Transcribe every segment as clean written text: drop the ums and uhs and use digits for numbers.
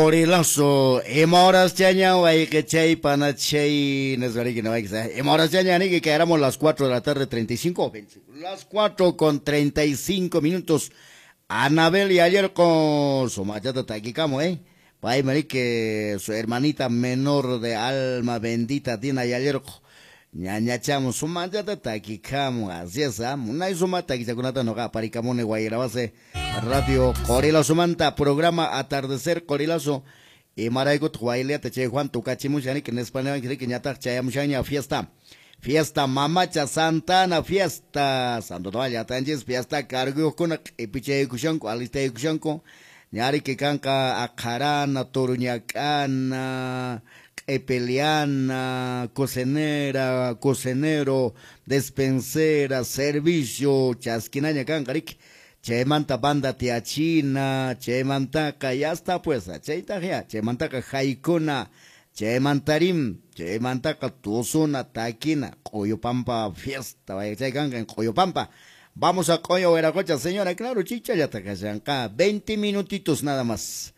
Qorilazo, ima horas chaña chay panachay, ima horas chaña que éramos las 4 de la tarde 35, las 4 con 35 minutos. Anabel y ayer con su machata taquicamo, Pay que su hermanita menor de alma bendita Dina y ayer ñañachamo su machata taquicamo, así es, ¿ah? Munay suma taquichakunata noqa parikamuni Guayrabase Radio Qorilazo manta programa Atardecer Qorilazo imaraykutaq wayliata chay Juan tukachimushaniki nispanewanki ñataq chayamushaña fiesta. Fiesta Mamacha Santana fiesta Santo llatanchis fiesta carguyuqkuna q'ipichaykushanku alistaykushanku ñariki kanqa aqharana turuñak'ana q'ipiliana cocinera, cocinero, despensera, servicio chaskinaña kanqa riki chaymanta banda tiachina chaymantaqa ya está pues chaytaq ya chaymantaqa haykuna chaymantarim chaymantaqa tusuna takina Q'uyupampa fiesta vaya chay kanqa en Q'uyupampa. Vamos a Q'uyu Huiracocha, señora, claro, chichallata kashanqa 20 minutitos nada más.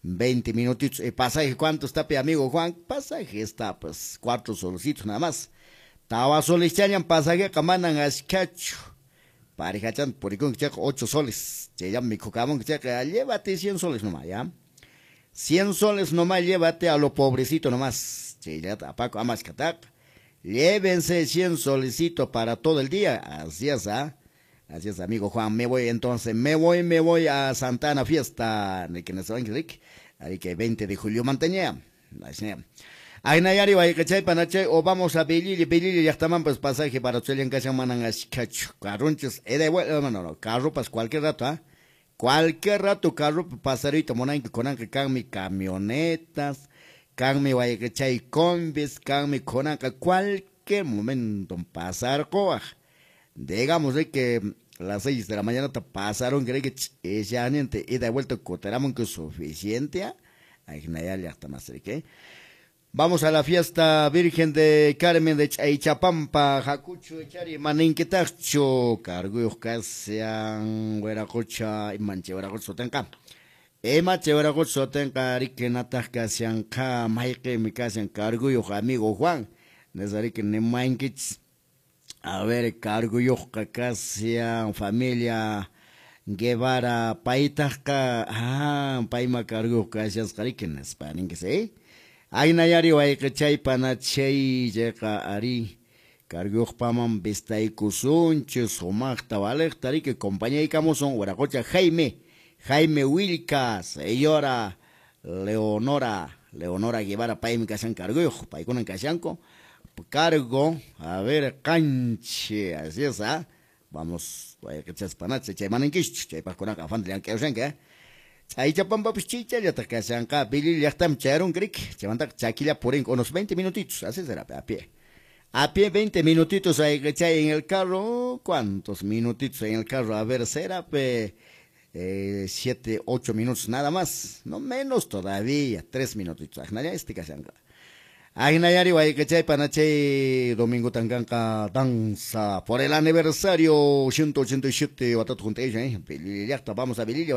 20 minutitos. ¿Y pasaje cuánto está, pe amigo Juan? Pasaje está, pues, 4 solcitos nada más. Tawa soles chañan pasaje kamanan ashkachu. Parejachan purikun chaqa 8 soles. Chayam mikhukamun chaqa llévate 100 soles nomás, ¿ya? 100 soles nomás llévate a lo pobrecito nomás. Chayata apaco amascatak. Llévense 100 solecito para todo el día. Así es, ¿ah? Así es, amigo Juan. Me voy entonces, me voy a Santana Fiesta. Ahí que 20 de julio mantenía. Aynayari wayqichay panachay o vamos a Belili, Belili llaqtaman pues pasaje para Chelian kashan manan ashkachu. Carrunchis, ida y vuelta, no, no, carro pas cualquier rato, ¿ah? Cualquier rato carro pasarito monanki konanka kanmi camionetas, kanmi wayqichay combis, kanmi konanka cualquier momento pasar coaj. Digamos de que las 6 de la mañana te pasaron, creo que ese ida y vuelta coteramon que es suficiente, ¿ah? Aynayari llaqtamas, ¿qué? Vamos a la fiesta Virgen de Carmen de Chaychapampa, Jacucho, Chari, Maninquitacho, Carguyos Casian, Hueracocha, Imanche, Hueracocha, Sotenca. Emache, Hueracocha, Sotenca, Rique, Casian, Ka, Maike, Micasian, Carguyos, amigo Juan, Nezarique, Nemainquich. A ver, Carguyos, Casian, familia Guevara, Paitasca, ah, Paima, Carguyos, Casian, Carique, Nespaninque, Aynayari wayqichay panachay chayqa ari carguyuqpaman vistaykusunchis sumaqta valeqta riki compañaykamusun Huiracocha Jaime, Jaime Wilca, señora Leonora, Leonora Guevara paymi kashan carguyuq, paykunan kashanku cargo, a ver, canche, así es, ¿ah? Vamos, wayqichas panache, chay manankischu, chaypaqkunaqa afanta llank'ayushanki, ¿eh? Chaychapampapas chichallata kashanqa Bilili llaqtam chayrun krik, chaymantaqa chakilla purinqa unos 20 minutitos, así será, a pie. A pie 20 minutitos hay chay en el carro, ¿cuántos minutitos en el carro? A ver, será 7, 8 minutos nada más, no menos todavía, 3 minutitos. Ajnaya este kashanqa. Ajnayari wayqichay panachay domingo tankanqa danza por el aniversario 187 watata junta ella, Bilili llaqta, vamos a Bilili.